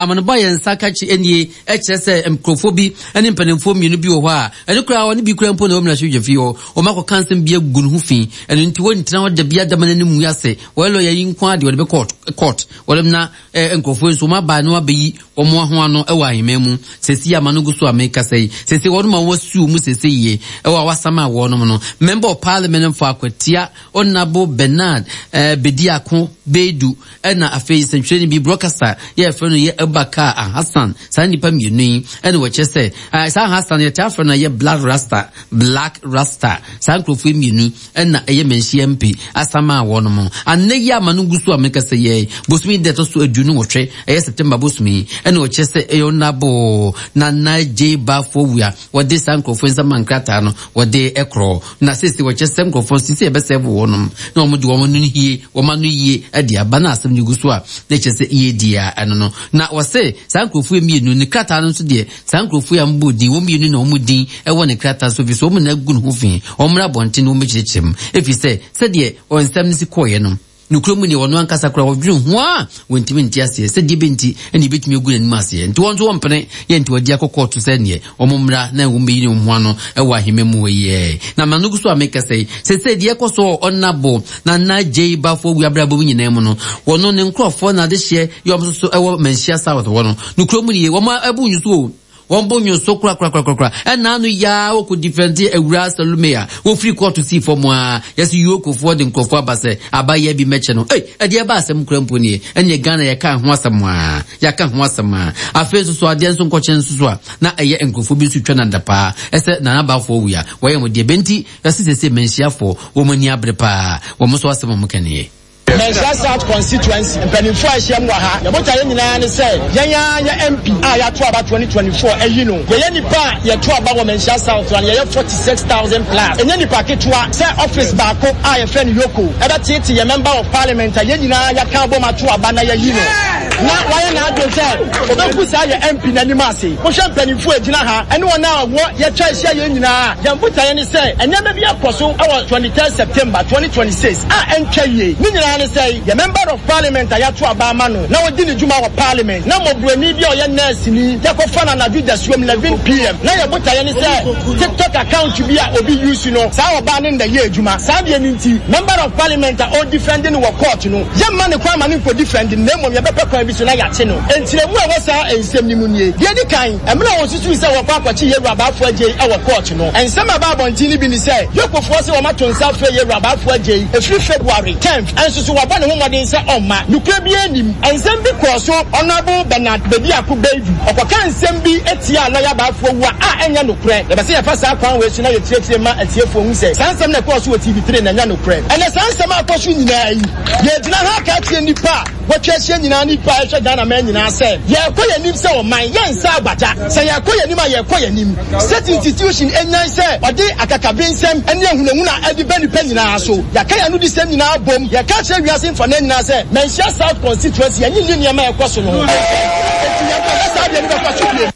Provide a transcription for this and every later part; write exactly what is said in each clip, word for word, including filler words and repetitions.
Amanebɔ a yɛn nsa ka kye nie kyerɛ sɛ nkurɔfoɔ bi ne mpanimfoɔ mmienu bi wɔ hɔ a ɛno koraa ɔne bi koraa mpo na ɛwɔ mmarahyɛbadwafie hɔ. Wɔakɔka nsɛm bi agu ne ho fi. Ɛno nti wɔntena hɔ da biara da ma n'anim ngu ase. Wɔyɛ lɔya yi nko ara deɛ wɔde bɛkɔ court. Wɔde na eh, nkurɔfoɔ yi nso wɔn aba na wɔabɛyi wɔn ho ano wɔ ahemman mu. Sɛsi ama no gu so a mekasa yi. Sɛsi wɔn ma wɔasuo mu sɛsi yie ɛwɔ a wɔasama wɔnom no. Member of Parliament for Akwatia Honourable Bernard eh, Bediako Beidu ɛna afei sɛntwerɛni bi broadcaster yɛ yɛfrɛ no yɛ Abubakar Alhassan. Saa nnipa mmienu yi ɛna wɔkyerɛ sɛ eh, saa Alhassan yɛtaa frɛ no yɛ Black Rasta, Black Rasta. Saa nkurɔfoɔ yi mmienu ɛna ɛyɛ Manhyia M P asama a wɔnom anɛ yi ama no gu so a mekasa yɛ bosome da ɛtɔ so aduonu nwɔtwe, ɛyɛ September bosome yi, ɛna wɔkyerɛ sɛ ɛyɛ Honourable Nana J Bafo Wia wɔde saa nkurɔfoɔ yi nsɛm nkrataa no wɔde ɛkorɔ na sese wɔkyerɛ sɛ nkurɔfoɔ sisi ɛbɛsɛ wɔnom na wɔn de wɔn ano yie wɔn ano yie ɛde aba na asɛm no gu so a na kyerɛ sɛ yie di a ɛno no na wɔsɛ saa nkurɔfoɔ yi mmienu ne krataa no nso deɛ, saa nkurɔfoɔ yi a wɔbɔ din wɔn mmienu na wɔn din ɛwɔ ne krataa so fi so wɔn na agu ne ho fi. Wɔn mmra abɔnten na wɔn bɛkyerɛkyerɛ mu efi sɛ sɛdeɛ wɔn nsɛm no si kɔɔeɛ no, nokura mu deɛ ɔno ankasa koraa wɔdwene ho a wɔntumi nte aseɛ sɛ deɛ bɛnti ɛne ɛbɛtumi agu n'anim aseɛ, nti wɔn nso wɔmpene yɛ, nti wɔde akɔ kɔɔto sɛ neɛ wɔn mmra na wɔn bɛyi ne ho ano ɛwɔ ahema mu hɔ yɛ. Na ma no gu so a meka sɛ sɛ sɛ deɛ ɛkɔ so ɔnabo na na gye bafoɔ wu abrabɔ mu nyinaa mu no, wɔno ne nkurɔfoɔ na adehyeɛ yɛ wɔn nso so ɛwɔ Manhyia South hɔ no, nokura mu nie wɔn ɛbu nsu o, wɔn bɔ nyo so korakorakorakora. Ɛna ano yaa wɔkɔ defend awura Salome a wɔfiri kɔɔto sii fam a yɛsɛ yuokofoɔ de nkurɔfoɔ aba sɛ abayɛ bi mɛkyɛ no. Ei, ɛdeɛ ɛba asɛm kora mpo nie. Ɛneɛ Ghana yɛka ho asɛm a yɛaka ho asɛm a afei nso so adeɛ nso nkɔkyɛn nso so a na ɛyɛ nkurɔfoɔ bi nso twa nanda paa ɛsɛ Nana Abafoɔ wia wɔyɛ mo deɛ bɛnti yɛsɛ sɛ sɛ Manhyiafoɔ wɔn ani abere paa, wɔn nso asɛm a wɔn ka nie. Manhyia South constituency mpanimfoɔ a ahyia mu wɔ ha, yɛbotaeɛ yɛn nyinaa ne sɛ yɛn ara yɛ M P a yɛato aba twenty twenty-four ayi no. Yɛyɛ nipa a yɛto aba wɔ Manhyia South no, yɛyɛ forty-six thousand plus. Ɛnyɛ nipa ketewa sɛ office baako a yɛfrɛ no Yoko ɛbɛtete yɛ member of parliament a yɛn nyinaa yɛaka abom ato aba na yɛyi no na wayɛ n'adwene sɛ ɔbɛgu saa yɛ M P n'anim ase. Wohwɛ mpanimfoɔ a gyina ha ɛne wɔn a wɔ yɛtwa ahyia yɛn nyinaa, yɛn botaeɛ ne sɛ nneɛma bi akɔ so ɛwɔ twenty-third September twenty twenty-six a ɛntwa yie. Ne nyinaa ne sɛ yɛ member of parliament a yɛato aba ama no na wɔdi ne dwuma wɔ parliament na mmɔborɔni bi a ɔyɛ nurse ni yɛkɔfa no anadwo dasuom eleven P M na yɛ botaeɛ ne sɛ TikTok account bi a obi use no, saa ɔbaa ne nda yɛ adwuma saa deɛ no nti member of parliament a ɔdefend no wɔ court no, yɛmma ne kwan ma ne nkɔ defend no, na mmom yɛbɛpɛ kwan bi so na yɛakye no. Nkyerɛmu a ɛwɔ saa nsɛm no mu nie: Deɛ di kan, mmerɛ a wɔsusuu sɛ wɔkɔ akɔkye yɛwura Abaafo Agyei wɔ court no, nsɛm a ɛba abɔnten no bi ne sɛ yokofoɔ sɛ wɔmato nsa afrɛ yɛwura Abaafo Agyei ɛfiri February tenth, ɛnso so wɔabɔ ne ho mmɔden sɛ ɔmma. Nokura bi anim, nsɛm bi kɔɔ so. Honourable Bernard Bediako Beidu ɔkɔka nsɛm bi etia lɔya Baffour Awuah a ɛnyɛ nokorɛ. Yɛbɛ sɛ yɛfa saa kwan wei so na yɛkyerɛkyerɛ ma atiefoɔ hu sɛ saa nsɛm na ɛkɔɔ so wɔ T V three na ɛnyɛ nokorɛ. Ɛnɛ saa nsɛm a akɔ so nyinaa yi, yɛgyina ha aka akyerɛ nnipa a wɔatwa ahyia nyinaa, nnipa a ɛhwɛ Ghana man nyinaa sɛ yɛrekɔ yɛn anim sɛ ɔman, yɛnsa agbagya. Sɛ yɛrekɔ yɛn anim a, yɛrekɔ yɛn anim. State institution enyan sɛ ɔde akakabe nsɛm ne ahunahuna ɛde bɛ nipa nyinaa so. Yɛaka yɛn ano di sɛm nyinaa bom, yɛka kyerɛ wiase mfana nyinaa sɛ Manhyia South constituency yɛnye nni nneɛma a ɛkɔ so no ho, enti yɛnkɔhwɛ saa deɛ no bɛkɔ so bio.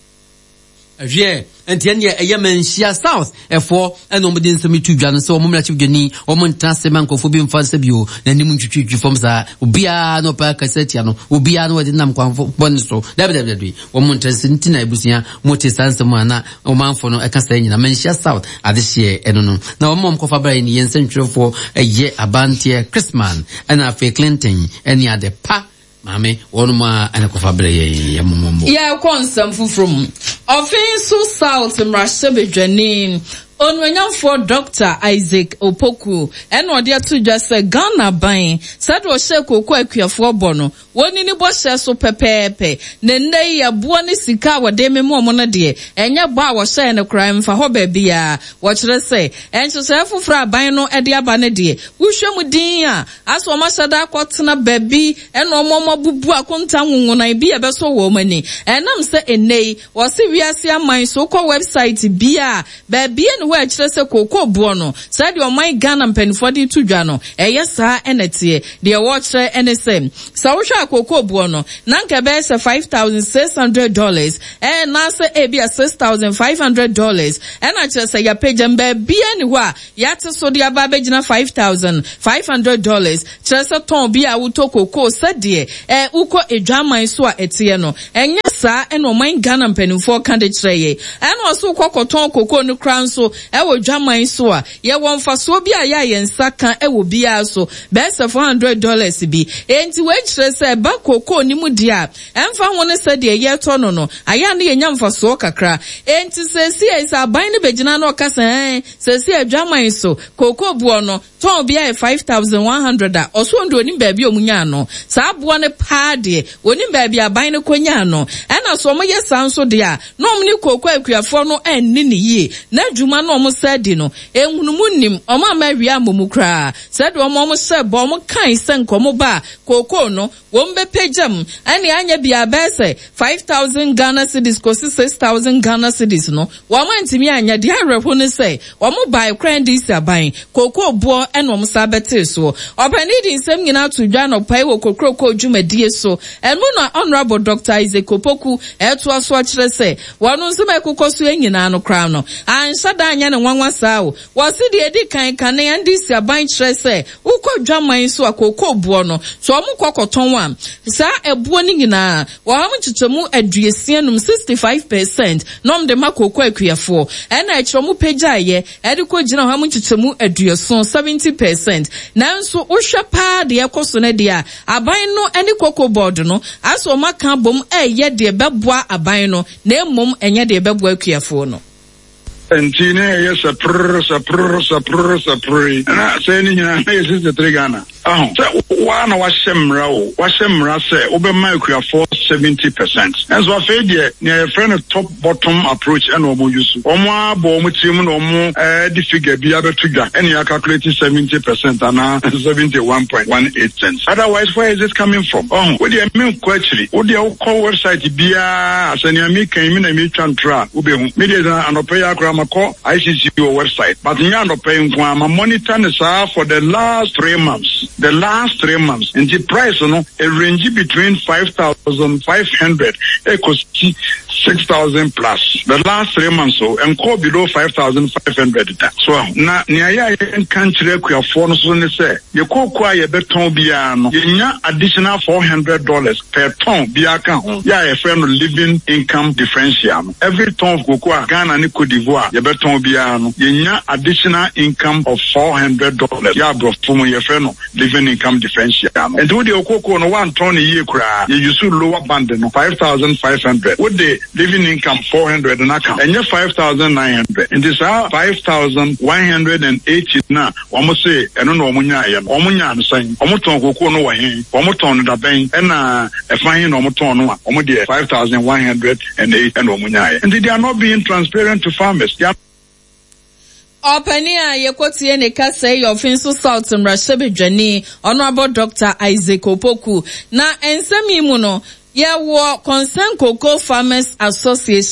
Hwɛ, nti ɛneɛ ɛyɛ Manhyia South ɛfoɔ ɛna wɔn de nsɛm to dwa no sɛ wɔn mmarahyɛ dwani wɔn ntena ase ma nkurɔfoɔ bi mfa nsa bio n'anim ntwitwitwi fam saa, obiara na ɔpɛ akasa atia no, obiara na wɔde nam kwan bɔne so. Dabi, dabi, dabi, wɔn ntena ase. Nti na abusua mo te saa nsɛm a na ɔmanfo no ɛka saa nyina Manhyia South adehyeɛ ɛno no na wɔn a wɔn kɔfa bra yi ne yɛn nsɛntwerɛfoɔ ɛyɛ abanteɛ Chrisman ɛna afei Clinton ɛne ade pa maame wɔn a ɛna kɔfa brɛ yɛn yɛ mɔmɔmɔ. Yɛrekɔ nsɛm foforɔ mu. Ɔfin South mmarahyɛbadwani onuonyamfoɔ Doctor Isaac Opoku ɛna ɔde ato dwa sɛ Ghana ban sɛdeɛ ɔhyɛ kooko akuafoɔ bɔ no, wɔn ni bɔhyɛ so pɛpɛɛpɛ, na nnɛ yi ɛboɔ ne sika a wɔde mema wɔn no deɛ, ɛnyɛ bɔ a wɔhyɛɛ no koraa mfa hɔ baabiara. Wɔkyerɛ sɛ nhyehyɛeɛ foforɔ aban no de aba no deɛ, wohwɛ mu din a asɛ wɔn ahyɛ da akɔtena baabi ɛna wɔn wɔn abubu akonta nwonwonan bi a ɛbɛsɔ wɔn ani. Ɛnam sɛ nnɛ yi wɔsi wiase aman so kɔ website bi a baabi ne hɔ hɔ a ɛkyerɛ sɛ kookoo boɔ no, sɛdeɛ ɔman Ghana mpanimfoɔ de to dwa no, ɛyɛ saa ɛna teɛ. Deɛ wɔrekyerɛ ɛne sɛ, sɛ wohwɛ a kookoo boɔ no, na nka ɛbɛyɛ sɛ five thousand six hundred dollars, ɛnaasɛ ebi a six thousand five hundred dollars, ɛna kyerɛ sɛ yɛapagya baabiara ni hɔ a yɛate so de aba abɛgyina five thousand five hundred dollars, kyerɛ sɛ tɔn bi a wotɔ kookoo sɛdeɛ ɛ wokɔ edwaman so a ɛteɛ no, ɛnyɛ saa ɛna ɔman Ghana mpanimfoɔ ka de kyerɛ yɛ. Ɛna ɔso kɔ kɔtɔn kookoo no kora nso ɛwɔ dwaman so a yɛwɔ mfasoɔ bi a yɛ a yɛn nsa ka ɛwɔ biara so bɛyɛ sɛ four hundred dollars bi. Enti wei kyerɛ sɛ ɛba kookoo no mu deɛ a ɛmfa ho ne sɛdeɛ yɛtɔ no no, ayɛ a ne yɛnya mfasoɔ kakra. Enti sɛsi sɛ aban no bɛgyina na ɔka sɛ ɛn sɛsi adwaman so kookoo boɔ no tɔn bi ayɛ five thousand one hundred a, ɔso ɔno deɛ onim baabi a ɔmo nyaa no saa aboɔ no paa deɛ, onim baabi aban no kɔ nyaa no. Ɛna so ɔmo yɛ saa nso deɛ a, na ɔmo ne kookoo akuafoɔ no ɛnni ne yie, na adwuma no ɔmo sɛ di no ehunumu nim ɔmo ama awia amɔ koraa. Sɛdeɛ ɔmo ɔmo hyɛ bɔ, ɔmo kan sɛ nkɔmɔ ba a kookoo no wɔn bɛpagya mu ɛne anya bia bɛyɛ sɛ five thousand Ghana cedis kɔsi six thousand Ghana cedis no, wɔn antumi anya. Deɛ awerɛho ne sɛ wɔn baa kora N D C aban kookoo boɔ ɛna wɔn sa bɛtee soɔ. Ɔpanin de nsɛm nyinaa to dwa anɔpa yi wɔ kokoroko dwumadie so. Ɛno na Honourable Doctor Isaac Opoku ɛtoa so akyerɛ sɛ wɔn nso ɛkokɔ so nyinaa no koraa no anhyɛ da anyɛ ne nwanwa saa o. Wɔsi deɛ edi kan kane N D C aban kyerɛ sɛ wokɔ dwaman so a, kookoo boɔ no so wɔn kɔ kɔtɔn a, saa ɛboɔ no nyinaa wɔn nkyekyɛmu aduosia num, sixty five percent, na wɔn de ma kookoo akuafoɔ. Ɛna akyerɛ wɔn pagyaeɛ ɛde kɔ gyina wɔn nkyekyɛmu aduoson, seventy percent. Nanso wohwɛ paa deɛ ɛkɔ so no deɛ a, aban no ne Cocoa Board no asɛ wɔn aka abom ɛyɛ deɛ bɛboa aban no, na mmom ɛnyɛ deɛ bɛboa akuafoɔ no. Nti ne ɛyɛ sɛ prrr sɛ prrr sɛ prrr sɛ prrr yi na sɛ ne nyinaa na yɛ sixty three Ghana aho sɛ waa na wahyɛ mmara o, wahyɛ mmara sɛ wobɛma akuafoɔ seventy percent. Ɛnso afei deɛ, nea yɛfrɛ no top bottom approach ɛna wɔn use, wɔn abɔ wɔn tirim na wɔn ɛɛ de figure bi abɛto dwa ɛna yɛ calculate seventy percent anaa seventy one point one eight cents. Otherwise, where is it coming from? Ɔho wo deɛ, mi nkɔ akyiri. Wo deɛ, wokɔ website biara sɛ nea mi kan mi na mi twa ntora a, wobɛhu mi deɛ sɛ anɔpɛ yi akora makɔ I C C wɔ website, but nyɛ anɔpɛ yi nko a, ma monitor ne saa for the last three months, the last three months. Nti price no e range between five thousand five hundred ekosi six thousand plus the last three months, so nkɔ below five thousand five hundred da so. Na nea yɛ a yɛnka nkyerɛ akuafoɔ no so ne sɛ yɛ kooko a yɛbɛtɔn biara no, yɛnya additional four hundred dollars per ton biara ka ho, yɛ a yɛfrɛ no living income differential no. Every ton of cocoa a Ghana ne Cote d'Ivoire yɛbɛtɔn biara no, yɛnya additional income of four hundred dollars, yɛ aborɔfo mu yɛfrɛ no living income differential no. Nti wode okoko no woantɔn no yie koraa, yɛ use lower band no, five thousand five hundred, wode living income four hundred no aka, ɛnyɛ five thousand nine hundred. Nti saa five thousand one hundred and eighty na wɔn se ɛno na wɔn nyaayɛ no, wɔn nyaa no sɛn? Wɔn tɔn koko no wɔ he? Wɔn tɔn no dabɛn? Ɛna ɛfa he na wɔn tɔn no a wɔn deɛ five thousand one hundred and eight ɛna wɔn nyaayɛ? Nti they are not being transparent to farmers. They are Ɔpanin a yɛkɔtie ne kasa yi, Ɔfinso South mmarahyɛbadwani Honourable Doctor Isaac Opoku. Na nsɛm yi mu no, yɛwɔ Concern Cocoa Farmers Association.